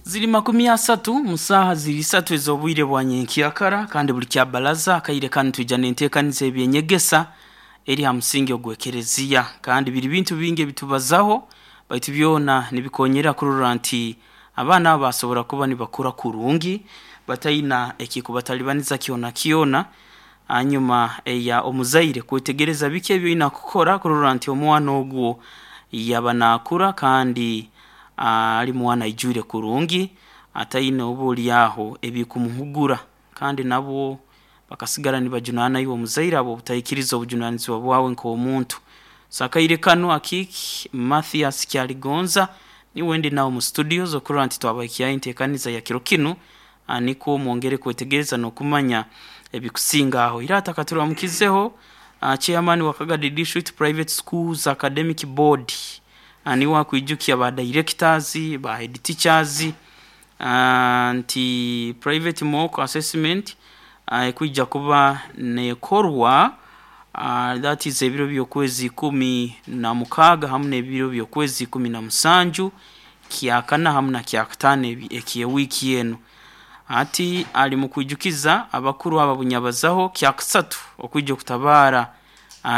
Ziri 30 mu saaha ziri 3 ez'obwire bwa nyenkyakara, kandi buli kyabalaza akaire kanu twija n'enteekaniza ebyenyegesa eri ha musingi ogw'ekereziya. Kandi biri bintu bingi ebitubazaho, baitu byona nibikonyera kurora nti abaana abo basobora kuba nibakura kurungi bataina ekikubatalibaniza kyona kyona. Hanyuma eya omuzaire kwetegereza biki ebi oina kukora kurora nti omwana ogwo yaba naakura kandi ali mwana aijwire kurungi, ataine oba oli aho ebikumuhugura, kandi nabwo bakasigara nibajunaana iwe omuzaire habw'obutaikiriza obujunanizibwa bwawe nk'omuntu. So akaire kanu Akiiki Mathias Kyaligonza niwe ndi nawe mu studios okurora nti twabahikyaho enteekaniza ya kiro kinu nikwo mwongere kwetegereza n'okumanya ebikusinga aho. Ira atakaturamukizeho chairman wa Kagadi District Private Schools Academic Board niwe akwijukya ba directors, ba head teachers nti private mock assessment ekwija kuba nekorwa, that is ebiro by'okwezi 16 hamu n'ebiro by'okwezi 17, kyakana hamu na kyakataano eky'ewiiki enu. Hati ali mu kwijukiza abakuru abo abunyabazaho kyakasatu okwija okutabaara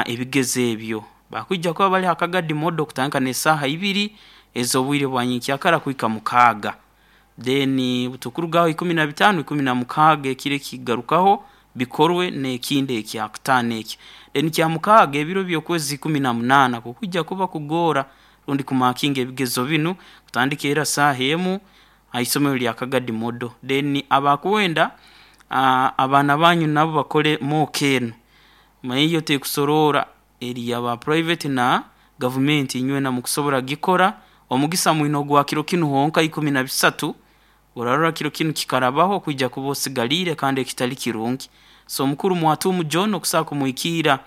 ebigezo ebyo. Bakwija kuba bali ha Kagadi Model kutandika n'esaaha ibiri ez'obwire bwa nyenkyakara kuhika 6. Then butukurugaho 15, 16 ekiro ekigarukaho bikorwe n'ekindi ekyakutaano ekyo. Then kyamukaaga ebiro by'okwezi 18 kukwija kuba kugoora rundi kumakinga ebigezo binu kutandika era saaha emu ha isomero lya Kagadi Model. Then abakwenda abaana banyu nabo bakole mock enu, manya iyo tekusoroora eri ya ba private na gavumenti, inywena mukusobora kugikora. Omugisa mwine ogwa kiro kinu honka 13, orarora kiro kinu kikarabaho kwija kuba osigaliire kandi ekitali kirungi. So omukuru Mwatuumu John okusobola kumuhikiira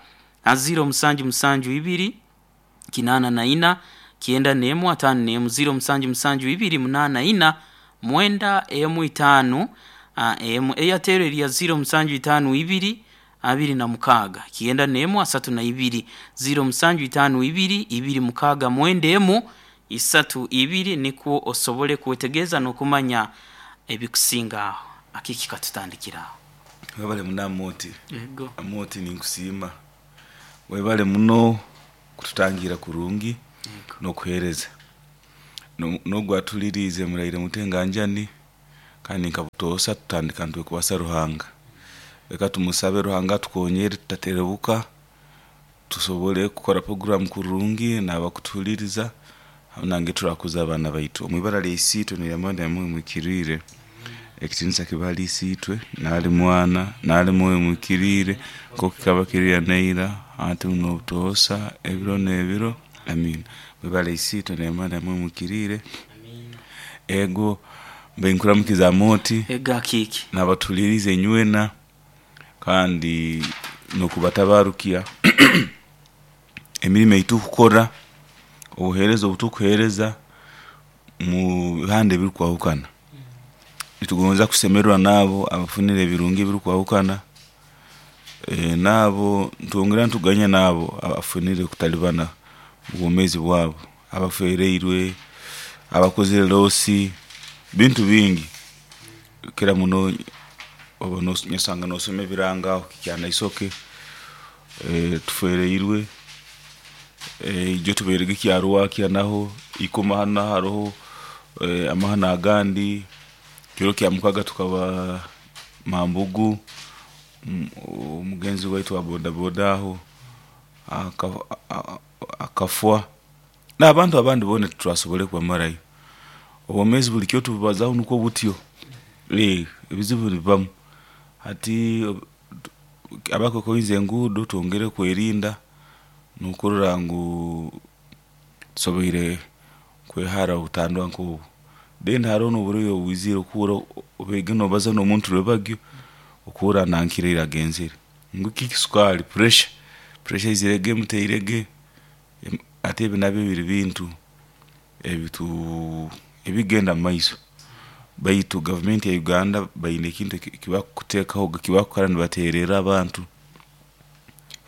ha 0772 84 91 51, 0772 84 91 51. Airtel eri ya 0752 26 91 32, 0752 26 91 32, nikwo osobole kwetegereza n'okumanya ebikusinga aho. Akiki katutandikire aho. Webale muno Amooti. Yego. Amooti ninkusiima. Webale muno kututangira kurungi Yego. n'okuheereza. N'ogu atuliriize muraire muti enganjani kandi nka butoosa tutandika nitwekwasa Ruhanga. Leka tumusabe Ruhanga atukonyere tutaterebuka, tusobole kukora puroguramu kurungi n'abakutuhuliriza hamu nange turakuza abaana baitu. Omu ibara lya Isiitwe n'erya Mwana n'erya Mwoyo Muhikiriire, ekitiinisa kibe hali Isiitwe, n'ahali Mwana, n'ahali Mwoyo Muhikiriire, nk'oku kikaba kiri ira n'eira, hati n'obutoosa, ebiro n'ebiro. Amiina. Omu ibara lya Isiitwe n'erya Mwana n'erya Mwoyo Muhikiriire. Ego, mbe nkuramukiza Amooti. Ego Akiiki. N'abatuhuliriize inywena kandi n'okubatabarukya emirimo ei tukukora, obuheereza obu tukuheereza mu bihanda ebirukwahukana. Nitugonza kusemererwa n'abo abafunire ebirungi ebirukwahukana, n'abo nitwongera nituganya n'abo abafunire okutalibana omu bwomeezi bwabo, abafereirwe, abakozere loosi, bintu bingi. Kukira muno oba nosanga nosoma ebirango aho Kyanaisoke, tufereirwe, ijo tubairege Kyarwakya naho, Ikoma hanu naho haroho amahano agandi, kiro kya mukaga tukaba Mambugu, omugenzi waitu wa bodaboda aho akafwa, n'abantu abandi boona titwasobole kubamarayo. Obwomeezi buli kiro tububazaho nukwo butyo, ebizibu nibibamu. Hati abakukoize enguudo twongere kwerinda n'okurora ngu tusoboire kwehara obutandwa nk'obu. Then haroho n'oburwaire obwizire okuhurra obaire noobaza n'omuntu rwebagyo, okuhurra nankire agenzere. Ngu kiki sukaali, pressure, pressure eizirege emuteirege, hati ebi nabyo biri bintu ebigenda mumaiso. Baitu gavumenti ya Uganda baine ekintu eki bakuteekaho eki bakukora nibateererra abantu,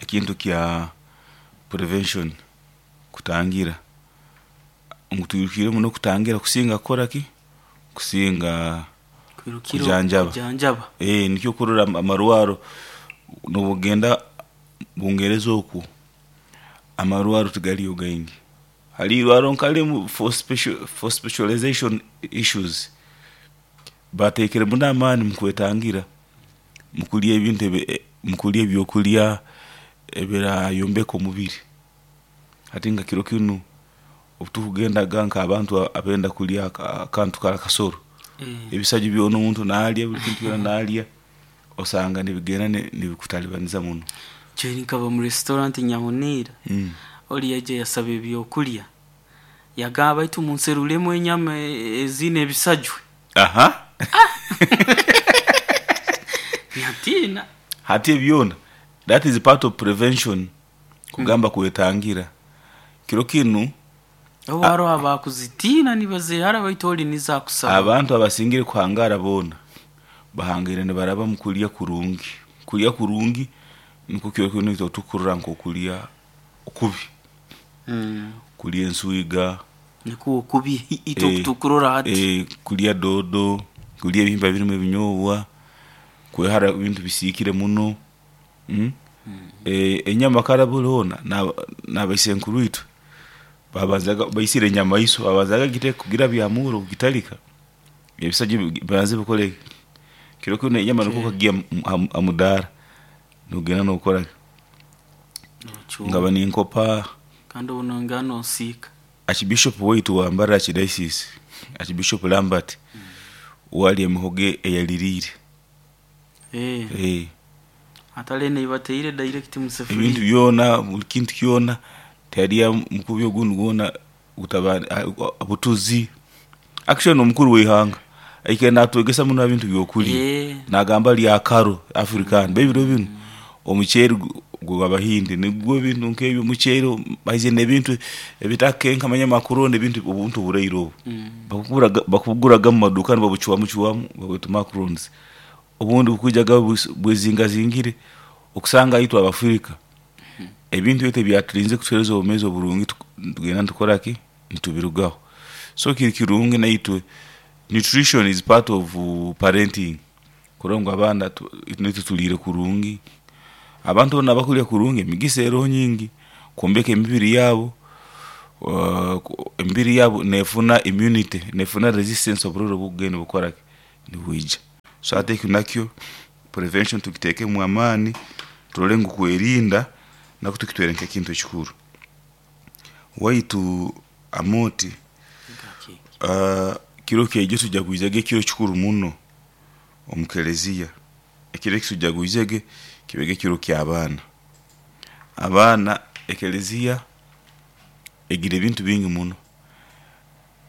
ekintu kya prevention, kutangira. Ngu twirukire muno kutangira kusinga kukora ki? Kusinga Kwirukira kujanjaba. Kujanjaba. Nikyo kurora amarwaro nobugenda Bungereza okwo, amarwaro tigaliyo gaingi. Hali irwaro nkalimu for specialization issues. Batekere muno amaani mukwetangira, mukulya ebintu mukulya ebyokulya ebirayombeka omubiri. Hati nka kiro kinu obutukugendaga nk'abantu abenda kulya akantu kara kasoro, ebisaju byona omuntu nalya, buli kintu kyona nalya, osanga nibigenda nibikutalibaniza muno. Jeri nkaba mu restaurant Nyahunira, oli yaija yasaba ebyokulya, yagamba baitu munserulemu enyama ezine ebisajwe. Nyatina. Hati ebyona that is part of prevention, kugamba kwetangira kiro kinu. Obu haroho abakuzitiina nibazehara, baitu oli nizo akusaba. Abantu abasingire kuhangara boona bahangaire nibaraba mu kulya kurungi. Kulya kurungi nikwo kiro kinu itwe tukurora nk'okulya okubi, kulya enswiga. Nikwo okubi itwe okutukurora hati. Kulya doodo, kulya ebihimba birimu ebinyobwa, kwehara ebintu bisiikire muno. Enyama kara buli hoona n'abaisenkuru itwe babanzaga baisire enyamaiswa, babanzaga giteeka kugirabya ha murro kugitalika, ebisajwa bibanze bikole ki? Kiro kinu enyama nukwo okagiiha ha mudaara nogenda nokora ki? Nkaba ninkopa Kandi obu nongera nosiika. Archbishop waitu wa Mbarara Archdiocese, Archbishop Lambert, uwe alya emihogo eyaliriire. Atali enu ei bateire direct mu Ebintu sefuliya. byona, buli kintu kyona, tiyalya mukubi ogundi gwona gutaba butuzi. Actually n'omukuru w'ihanga aikaire natwegesa muno ha bintu by'okulya, nagamba lya akaro African. Baitu ebiro binu omuceeri gw'Abahindi nigwo ebintu nk'ebyo, omuceeri baizire n'ebintu ebitakenka manya macaroni, ebintu obuntu oburaire obu. Bakubuguraga mu maduuka nibabucwamu cwamu babweta macarons. Obundi bukwijaga bwezingazingire, okusanga itwe Abafirika ebintu ebi ebyaturinzire kutuheereza obwomeezi oburungi nitugenda nitukora ki? Nitubirugaho. So kiri kirungi naitwe, nutrition is part of parenting, kurora ngu abaana naitwe tuliire kurungi. Abantu boona abakulya kurungi emigisa eroho nyingi kwombeka emibiri yabo, emibiri yabo nefuna immunity, nefuna resistance oburwaire obukugenda nibukora ki? Nibwija. So hati eki nakyo prevention tugitekemu amaani turole ngu kwerinda nakwo tukitwere nk'ekintu ekikuru. Waitu Amooti, kiro kyejo tujagwizege ekiro kikuru muno omu keleziya. Ekiro eki tujagwizege kibege ekiro ky'abaana. Abaana, ekeleziya egira ebintu bingi muno.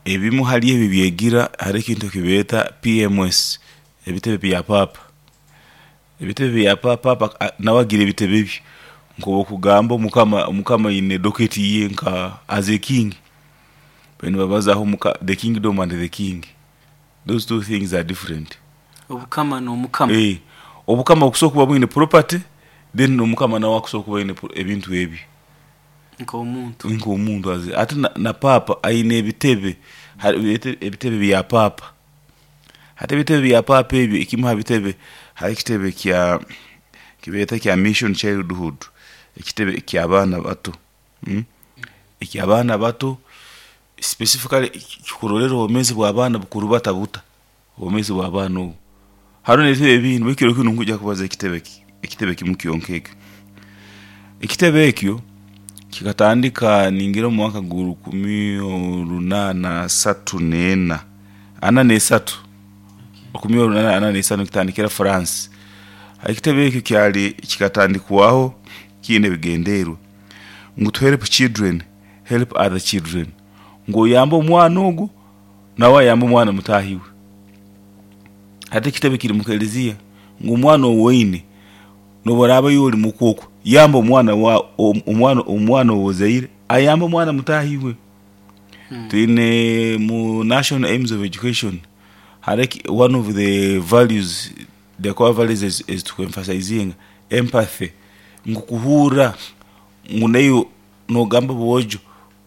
Ebimu hali ebi ebyegira hariho ekintu ekibeeta PMS, ebitebe bya paapa. Ebitebe bya paapa, paapa nawe agira ebitebe bye, nk'obwokugamba omukama aine docket ye nka as a king, nibabazaho the kingdom and the king, those two things are different. Obukama n'omukama. Obukama bukusobora kuba bwine property, then n'omukama nawe akusobora kuba aine ebintu ebye. Nk'omuntu. Nk'omuntu. Hati na paapa aine ebitebe, ebitebe bya paapa. Hati ebitebe bya paapa ebyo, ekimu ha bitebe hariho ekitebe kya kibeeta kya mission childhood, ekitebe ky'abaana bato. Eky'abaana bato specifically kikurorerra obwomeezi bw'abaana bukurubata buta, obwomeezi bw'abaana obu. Haroho n'ebitebe ebindi baitu kiro kinu nkwija kubaza ekitebe kimu kyonka ekyo. Ekitebe ekyo kikatandika ningira omu mwaka gwa 1834, 43, 1843 nikitandikira France. Ekitebe ekyo kyali kikatandikwaho kiine ebigendererwa ngu to help children help other children, ngu oyambe omwana ogu nawe ayambe omwana mutaahi we. Hati ekitebe kiri mu keleziya ngu omwana ou oine n'obu oraaba iwe oli muka oku, yamba omwana omwana ou ozaire ayambe omwana mutaahi we. Twine mu national aims of education hariho one of the values, the core values ezi tukwemphasizinga empathy, ngu kuhurra ngu naiwe nogamba boojo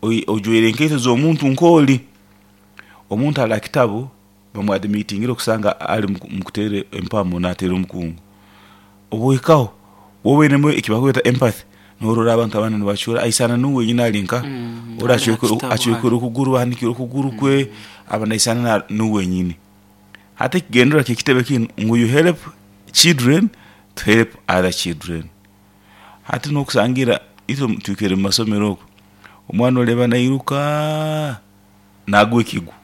ojwaire enkaito z'omuntu nk'oli. Omuntu ali ha kitabu. Bamuadmitingire okusanga ali mukuteera empamo nateera omukungu. Obwohikaho, wowe oinemu ekibakweta empathy, norora abantu abandi nibacura, aisana nuwe wenyini ali nka ori Ali hakitabu. Acwekere okuguru, ahanikire okuguru kwe, aba naisana nuwe wenyini. Hati ekigendererwa kyekitebe kinu ngu you help children to help other children. Hati nokusangira itwe twikaire mu masomero okwo, omwana oreba nairuka nagwa ekigwo.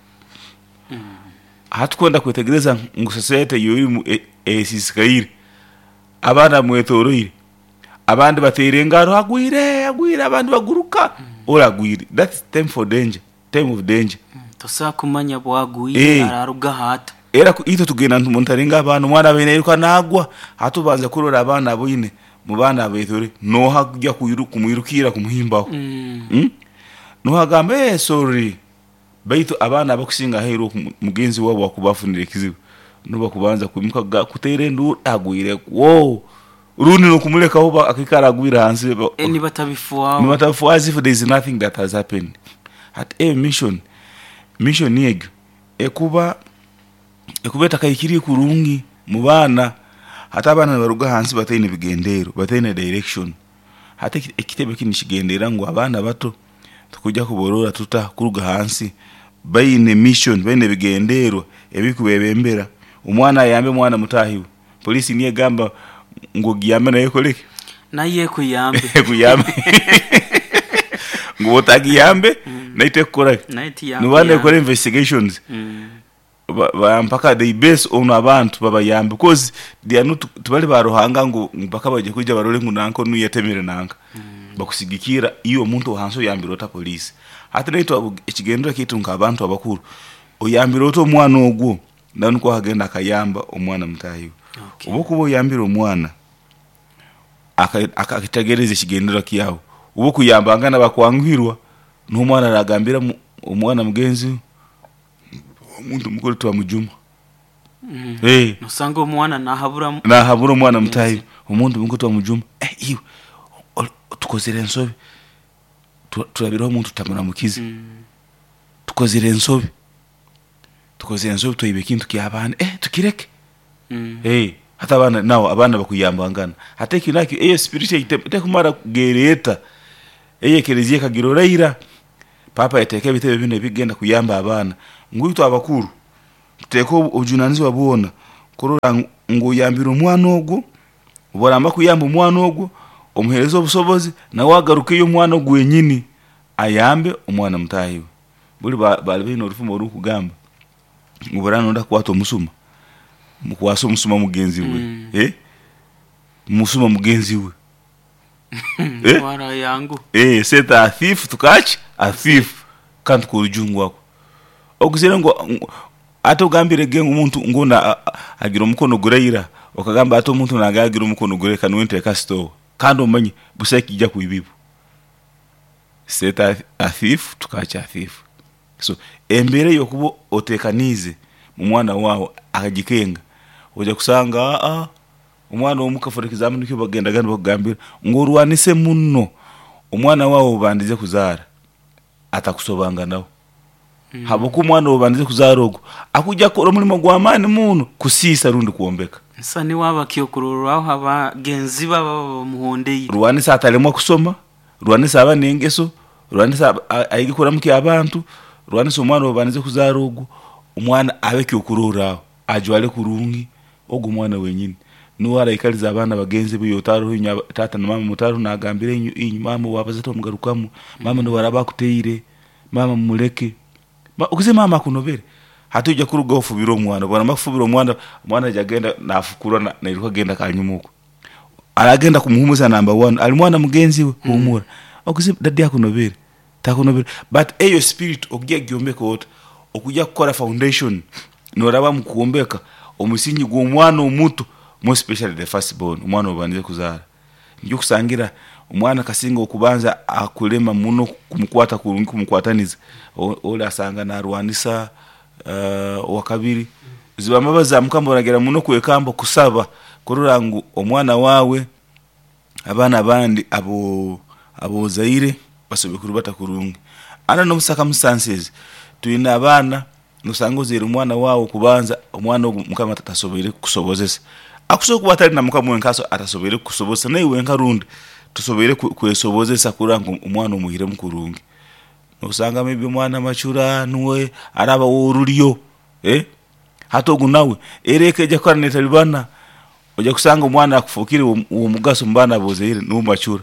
Hati kwenda kwetegereza ngu society eyorimu esisikaire, abaana bamwetoroire, abandi bateera engaro, agwire, agwire, abandi baguruka, ori agwire. That's time for danger, time of danger. Tosobola kumanya bwagwire ararugaho ata. Era itwe tugenda nitumonitoringa abaana, omwana abaire nairuka nagwa, hati obanza kurora abaana aboine, mu baana abetoroire, noha kujya kumwirukira kumuhimbaho. Noha agamba, sorry, baitu abaana abakusinga aheeru oku mugenzi waabo akuba afunire ekizibu, nubo bakubanza kwimuka kuteera enduuru, agwire kwo. Rundi n'okumulekaho akaikara agwire hansi. Nibatabifwaho. Nibatabifwaho as if there is nothing that has happened. Hati eyo mission, mission egyo ekuba etakahikiriire kurungi mu baana. Hati abaana nibaruga hansi bataine bigendeero, bataine direction. Hati ekitebe kinu nikigenderera ngu abaana bato tukujja kuborora tuta kuruga hansi baine mission, baine ebigendeerwa ebikubebembera. Omwana ayambe omwana mutaahi we. Poliisi niyo egamba ngu ogiyambe nayo ekoleki? Nayo ekuyambe. Ekuyambe. Ngu otagiyambe nayo tekukoraki? Nayo Nuba tiyakuyamba. Nekora investigations. Mpaka they base on abantu babayambe because they are not, tibali ba Ruhanga ngu mpaka baje kuija barole ngu nanka onu yatemere nanka. Bakusigikira iwe omuntu ohansi oyambire ota poliisi. Hati naitwe ekigendererwa kyaitu nk'abantu abakuru, oyambire ota omwana ogwo, nawe nukwo akagenda akayamba omwana mutaahi we. Obu okuba oyambire omwana, akategereza ekigendererwa kyawe, obu okuyambangana bakwanguhirwa, n'omwana aragambira omwana mugenzi we, omuntu mukuru twamujuma. Nosanga omwana nahabura Nahabura omwana mutaahi we, omuntu mukuru twamujuma, iwe tukozere ensobi, turabireho omuntu tutamuramukize. Tukozere ensobi. Tukozere ensobi twaiba ekintu ky'abandi, tukireke. Hati abaana nabo abaana bakuyambangana. Hati eki nakyo eyo spirit tekumara kugereeta. Eyo ekereziya ekagirora ira. Paapa yateeka ebitebe binu ebigenda kuyamba abaana. Ngu itwe abakuru tuteeke obujunanizibwa bwona kurora ngu oyambire omwana ogwo, obu oramba kuyamba omwana ogwo, omuheereze obusobozi nawe agarukeyo omwana ogwo wenyini ayambe omwana mutaahi we. Buli baali baine orufumo orukugamba ngu obu oraaba noyenda kukwata omusuma, mukwase omusuma mugenzi we. Musuma mugenzi we. Wara yangu. Set a thief to catch a thief. Kandi k'orujungu ako. Ogizire ngu ate ogambire ge omuntu ngu agira omukono guraira, okagamba ate omuntu nange agira omukono guraira kanuwe nteeka store. Kandi omanye busaho ekijja kwibibwa. Set a thief to catch a thief. So embeera ey'okuba oteekaniize omwana waawe akagikenga, oija kusanga omwana omuka, for example, nikyo bagendaga nibakugambira ngu orwanise muno omwana waawe obandize kuzaara atakusobanganaho. Habwokuba omwana obandize kuzaara ogu akujja kukora omulimo gw'amaani muno kusiisa rundi kwombeka. Nsa niwe aba kyokurorraho abagenzi be ababa bamuhondeire. Rwanisa atalemwa kusoma, rwanisa aba n'engeso, rwanisa ayige kuramukya abantu, rwanisa omwana obandize kuzaara ogu, omwana abe kyokurorraho, ajwale kurungi, ogu omwana wenyini. Nuwe araikaliza abaana bagenzi be otaroho inywe taata na maama mutaroho nagambira inywe maama owabaza tomugarukamu, maama nobu araaba akuteire, maama mumuleke. Okuze maama akunobere. Hati oija kurugaho ofubire omwana, obu oramara kufubira omwana, omwana aija agenda nafukura nairuka agenda kanyuma oku. Aragenda kumuhumuza number one, ali mwana mugenzi we, humura. Okuze daddy akunobere, takunobere. But eyo spirit okujya kugyombeka ota, okujya kukora foundation, noraba mukwombeka omusingi gw'omwana omuto, more especially the first born, omwana obandize kuzaara. Nikyo okusangira omwana kasinga okubanza akulema muno kumukwata kurungi kumukwataniza, oli asanga narwanisa owakabiri. Ziba mbabazi za Mukama oragira muno kwekamba kusaba kurora ngu omwana waawe, abaana abandi abozaire basobole kurubata kurungi. Under normal circumstances, twine abaana. Nosanga ozaire omwana waawe kubanza, omwana ogu Mukama tasoboire kukusobozesa. Akusobora kuba atali na Mukama wenka atasoboire kukusobozesa, naiwe wenka rundi tosoboire kwesobozesa kurora ngu omwana omuhairemu kurungi. Nosanga maybe omwana macura nuwe araba w'orulyo, hati ogu nawe era eka ejya kukara neetalibana, ojya kusanga omwana akufookere w'omugaso mu baana ab'ozaire nuwe macura.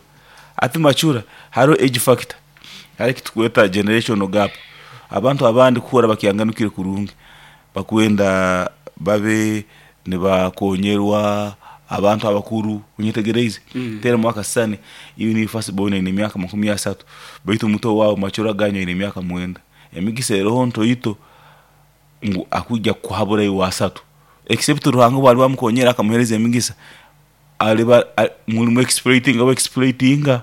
Hati macura haroho age factor, hariho ekitukweta generational gap. Abantu abandi kuhurra bakyanganukire kurungi, bakwenda babe nibakonyerwa abantu abakuru, onyetegereize? Teeramu akasisani iwe niiwe first born oine emyaka 30, baitu muto waawe macura ganyu aine emyaka 9. Emigisa eroho ntoito ngu akwija kukuhabura iwe 30, except Ruhanga obu aliba amukonyera akamuheereza emigisa, aliba mulimu exploitinga exploitinga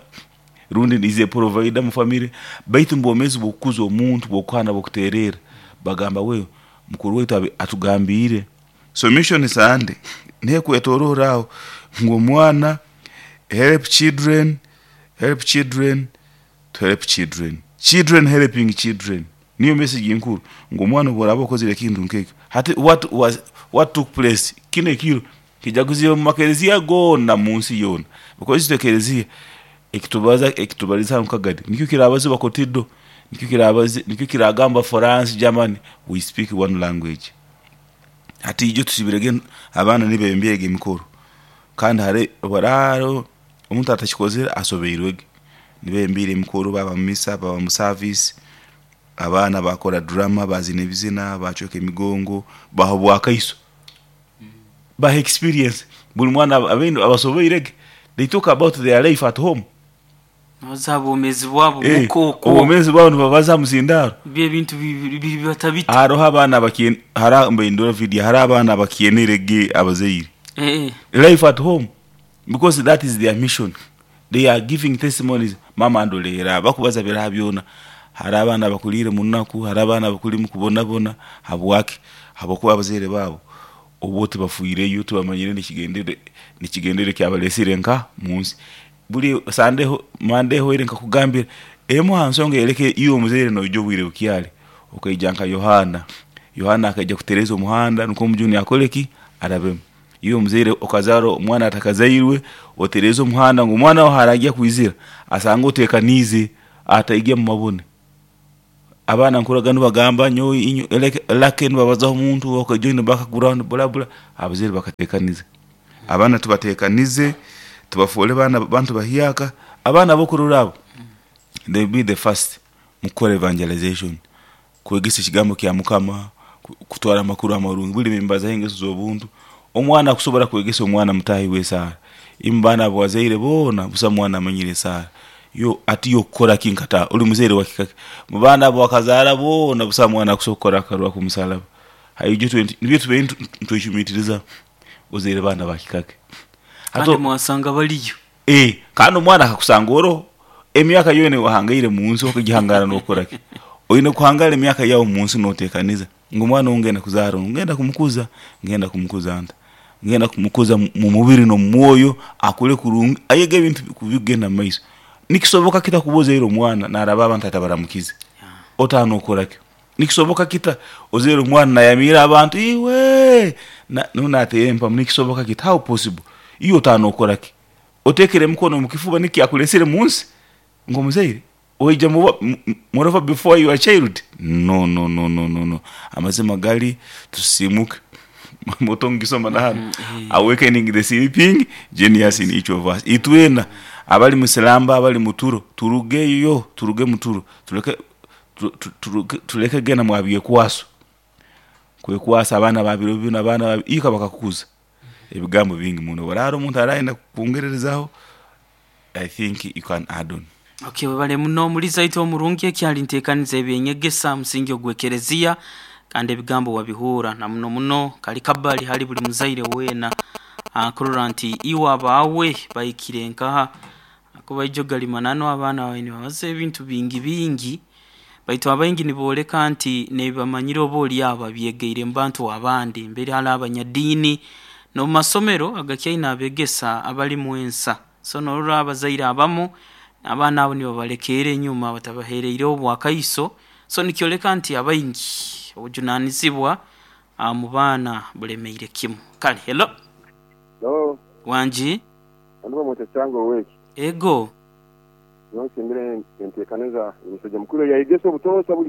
rundi is a provider mu family, baitu mu bwomeezi bw'okukuza omuntu, bw'okuhana, bw'okuteererra, bagamba we mukuru waitu atugambiire. So mission Sunday niho ekwetoroora aho ngu omwana help children, help children to help children, children helping children, niyo message enkuru ngu omwana obu oraaba okozere ekintu nk'ekyo, hati what took place kinu ekiro kijaguziibwe mu makereziya goona munsi yoona, because itwe ekereziya ekitubaza ekitubaliza hanu Kagadi nikyo kirabazibwa Kotido, nikyo kiragambwa France, Germany, we speak one language. Hati ijo tusibirege abaana nibembyege emikoro kandi hariho omuntu atakikozere asobeirwege. Nibembiire emikoro baba mu misa, baba mu service, abaana bakora drama, bazina ebizina, bacweka emigongo, baha obwakaiso, baha experience. Buli mwana abaine abasobeirege, they talk about their life at home. Nibabaza ha bwomeezi bwabo muka okwo. Obwomeezi bwabo nibabaza ha muzindaaro. Byo ebintu bibata bita? Haroho abaana hariho mbaindura video, hariho abaana abakyenere abazaire. Life at home, because that is their mission. They are giving testimonies, mama andoleera, bakubaza biraha byona. Hariho abaana abakuliire mu nnaku, hariho abaana abakuli mu kubonabona, habwaki? Habwokuba abazaire baabo obo tibafiireyo, tibamanyire n'ekigendererwa ekyabaleesire nka munsi. Buli Sunday, Monday ehoire nkakugambira, emu ha nsonga eyoleka iwe omuzaire noija obwire bukyali, okaija nka Yohaana. Yohaana akaija kutereeza omuhanda nukwo omujuni akole ki? Arabemu. Iwe omuzaire okazaara omwana atakazairwe, otereeze omuhanda ngu omwana wawe haraagya kwizira, asange oteekaniize, ataija mu mabone. Abaana nkuraga nibagamba nyowe inywe lake nibabazaho omuntu okay join the background bula bula, abazaire bakateekaniza. Abaana tubateekanize, tubafoole baana bantu bahyaka, abaana ab'okurora abo, they will be the first mukukora evangelization, kwegesa ekigambo kya Mukama, kutwara amakuru amarungi, buli nimbazaho engeso z'obuntu. Omwana akusobora kwegesa omwana mutaahi we esaara, imwe baana abu wazaire boona busaho mwana amanyire esaara, yo ati yo okukora ki nkata oli muzaire wa kika ki? Mu baana abu wakazaara boona busaho mwana akusobora kukora akarwa k'omusalaba. Haijo nibyo tubaire nitwecumiitirizaho, ozaire baana ba kika ki? Kandi mwasanga baliyo. Kandi omwana akakusanga oroho, emyaka yoona ei wahangaire munsi okagihangara nookora ki? Oine kuhangara emyaka yaawe munsi nooteekaniza ngu omwana ou ngenda kuzaara onu ngenda kumukuza, ngenda kumukuza nta? Ngenda kumukuza mu mubiri n'omu mwoyo, akure kurungi, ayege ebintu bikugenda mu maiso. Nikisoboka kita kuba ozaire omwana naaraba abantu atabaramukize? Otaaha nookora ki? Nikisoboka kita ozaire omwana nayamiira abantu iwe nuwe nateera empamu, nikisoboka kita? How possible? Iwe otaaha nookora ki? Oteekere emikono omu kifuba nikyo kyakuleesire munsi nk'omuzaire? Oija moreover before your child? No, no, no, no, no, no. Amazima gali tusisiimuke. Moto ngisoma na hanu. Awakening the sleeping genius in each of us. Itwena abali mu silamba, abali mu turo, turugeyo, turuge mu turo, tuleke tuleke genda mwa byekwaso. Kwekwasa abaana ba biro binu, abaana ba ika bakakukuza. Ebigambo bingi muno. Obu omuntu arayenda kwongererezaho, I think you can add on. Okay, webale muno omuliza itwe omurungi ekyali nteekaniza ebyenyegesa musingi ogw'ekereziya kandi ebigambo wabihuura na muno muno kali kabali hali buli muzaire weena akurora nti iwe abaawe bahikire nkaha kuba ijo gali mananu abaana bawe nibabaza ebintu bingi bingi baitu abaingi nibooleka nti nebibamanyire oba oli aho babyegeire mu bantu abandi mbere hali abanyadiini n'omu masomero agakyaine abegesa abalimu ensa. So norora abazaire abamu abaana abo nibabalekeera enyuma batabaheereireho obwakaiso. So nikyoleka nti abaingi obujunanizibwa mu baana bulemeire kimu. Kale hello. Hello. Wangi. Hano bamweta Kyanga oweki. Ego. Nyowe nsiimire enteekaniza y'omusaija mukuru eyayegesa obutoosa buli.